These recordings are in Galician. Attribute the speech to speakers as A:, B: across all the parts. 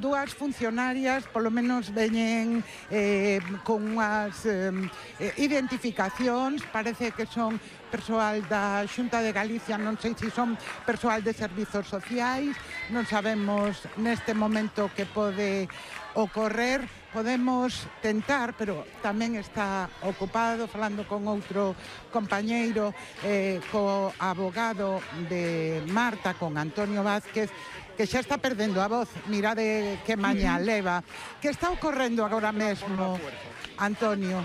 A: dúas funcionarias polo menos veñen con unhas identificacións, parece que son persoal da Xunta de Galicia, non sei se son persoal de servizos sociais, non sabemos neste momento que pode ocorrer. Podemos tentar, pero tamén está ocupado, falando con outro compañeiro, co abogado de Marta, con Antonio Vázquez, que xa está perdendo a voz. Mirade que maña leva. Que está ocorrendo agora mesmo, Antonio?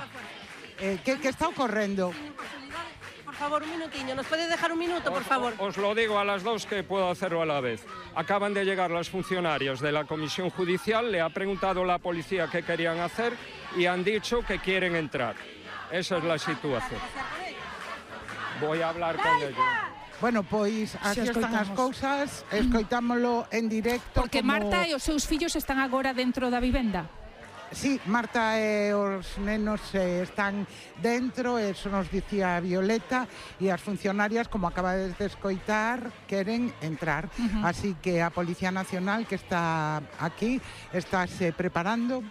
A: Que está ocorrendo?
B: Por favor, un minutiño, ¿nos puede dejar un minuto, por favor?
C: Os lo digo a las dos, que puedo hacerlo a la vez. Acaban de llegar los funcionarios de la Comisión Judicial, le ha preguntado la policía qué querían hacer y han dicho que quieren entrar. Esa es la situación. Voy a hablar con ellos.
A: Bueno, pois así están as cousas, escoitámolo en directo.
D: Porque Marta e os seus fillos están agora dentro da vivenda.
A: Sí, Marta e os nenos están dentro, eso nos dicía Violeta, e as funcionarias, como acabades de escoitar, queren entrar. Así que a Policía Nacional, que está aquí, estáse preparando,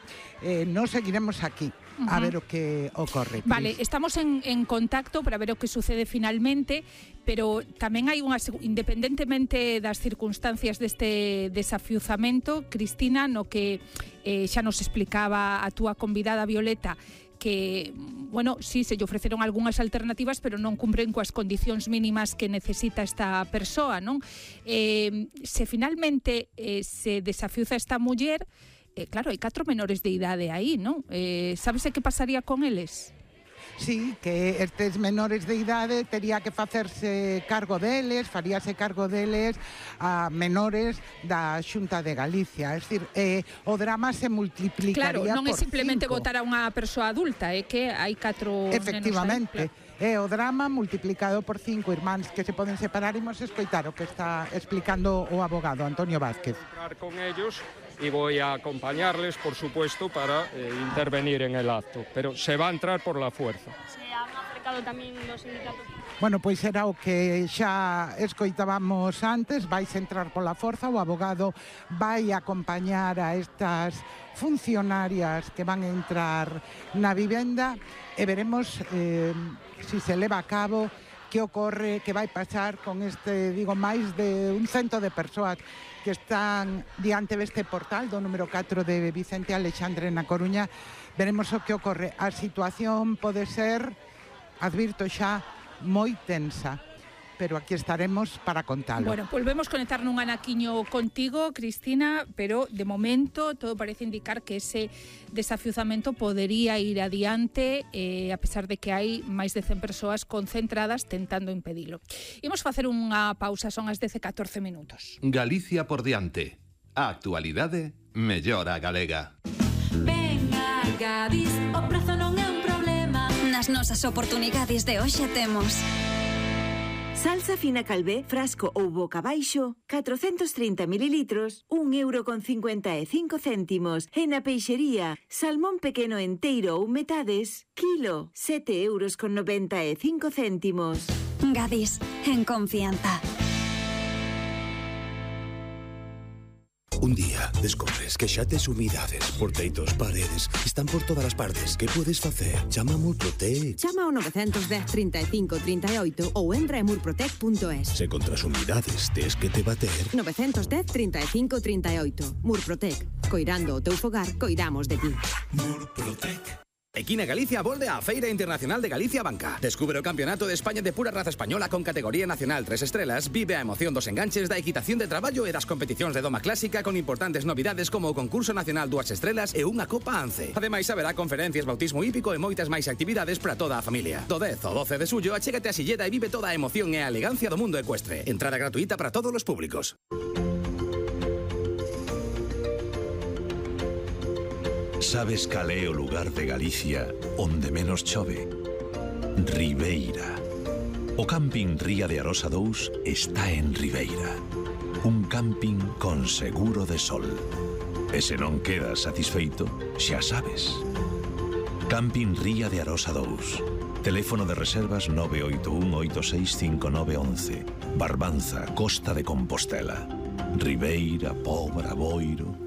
A: nos seguiremos aquí a ver o que ocorre.
D: Vale, estamos en contacto para ver o que sucede finalmente, pero tamén hai unha, independentemente das circunstancias deste desafiuzamento, Cristina, no que xa nos explicaba a túa convidada Violeta, que, bueno, sí, se lle ofreceron algunhas alternativas, pero non cumpren coas condicións mínimas que necesita esta persoa, non? Se finalmente se desafiuza esta muller, claro, hai 4 menores de idade aí, non? Sabese que pasaría con eles?
A: Sí, que estes menores de idade tería que facerse cargo deles, faríase cargo deles a menores da Xunta de Galicia. É dicir, o drama se multiplicaría por 5.
D: Claro, non é simplemente votar a unha persoa adulta, é que hai 4
A: efectivamente,
D: nenos aí.
A: É o drama multiplicado por 5 irmáns que se poden separar. Imos escoitar o que está explicando o abogado Antonio Vázquez.
C: Entrar con ellos y voy a acompañarles, por supuesto, para intervenir en el acto, pero se va a entrar por la fuerza.
E: Se han aplicado tamén los sindicatos.
A: Bueno, pois era o que xa escoitábamos antes, vais entrar pola forza, o abogado vai acompañar a estas funcionarias que van a entrar na vivenda e veremos si se leva a cabo, que ocorre, que vai pasar con este, digo, máis de un cento de persoas que están diante deste portal do número 4 de Vicente Alexandre na Coruña. Veremos o que ocorre. A situación pode ser, advirto xa, moi tensa, pero aquí estaremos para contalo.
D: Bueno, volvemos conectar nun anaquiño contigo, Cristina, pero de momento todo parece indicar que ese desafiuzamento podería ir adiante, a pesar de que hai máis de 100 persoas concentradas tentando impedilo. Imos facer unha pausa, son as 10:14 minutos.
F: Galicia por diante. A actualidade mellora a galega.
G: Venga, Gadis, o prazo non é un problema. Nas nosas oportunidades de hoxe temos
H: salsa fina Calvé, frasco ou boca baixo, 430 mililitros, 1,55 €. E na peixería, salmón pequeno enteiro ou metades, kilo, 7,95 €.
G: Gadis, en confianza.
I: Un día descubres que xa tes humidades por teitos, paredes, están por todas as partes. Que podes facer? Chama a Murprotec.
J: Chama ao 910 35 38 ou entra en murprotec.es.
I: Se contra as humidades tes que te bater.
J: 910 35 38. Murprotec. Coirando o teu fogar, coidamos de ti.
I: Murprotec.
K: Equina Galicia volve á Feira Internacional de Galicia Banca. Descubre o Campeonato de España de pura raza española con categoría nacional 3 estrelas. Vive a emoción dos enganches da equitación de traballo e das competicións de doma clásica con importantes novidades como o concurso nacional 2 estrelas e unha Copa Ance. Ademais, haberá conferencias, bautismo hípico e moitas máis actividades para toda a familia. Do 10 ao 12 de xullo, achégate a Silleda e vive toda a emoción e a elegancia do mundo ecuestre. Entrada gratuita para todos os públicos.
L: Sabes cal é o lugar de Galicia onde menos chove? Ribeira. O camping Ría de Arosa 2 está en Ribeira. Un camping con seguro de sol. E se non quedas satisfeito, xa sabes. Camping Ría de Arosa 2. Teléfono de reservas 981-865911. Barbanza, Costa de Compostela. Ribeira, Pobra, Boiro...